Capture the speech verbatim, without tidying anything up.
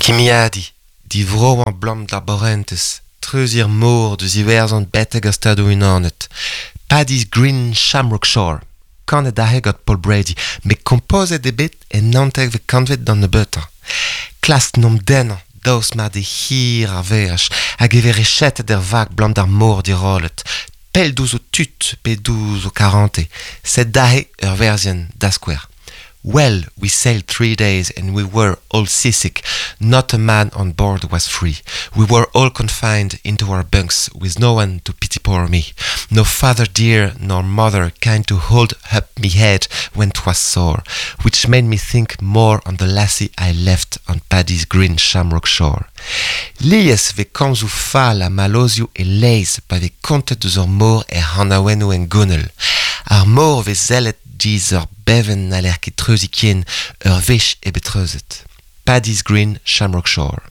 Kimiadiñ, divroañ 'blam d'ar baourentez, treuziñ ar mor deus Iwerzhon betek ar Stadoù-Unanet. Paddy's Green Shamrock Shore. Kanet aze gant Paul Brady, met kompozet eo bet en naontekvet kantved d'an nebeutañ. Klask 'n em dennañ, daoust mar d'eo hir ar veaj, hag e vez rechetet er vag 'blam d'ar mor dirollet. Pell diouzh ho tud pe diouzh ho karantez. Sed aze ur werzienn, da skouer. Well, we sailed three days and we were all seasick. Not a man on board was free. We were all confined into our bunks with no one to pity poor me. No father dear nor mother kind to hold up me head when 'twas sore, which made me think more on the lassie I left on Paddy's green shamrock shore. Lies 'vez komzoù fall ha mallozhioù e-leizh pa vez kontet deus ar mor er c'hanaouennoù hengounel. Ar mor 'vez sellet 'giz ur bevenn n'haller ket treuziñ ken ur wech eo bet treuzet. Paddy's Green Shamrock Shore.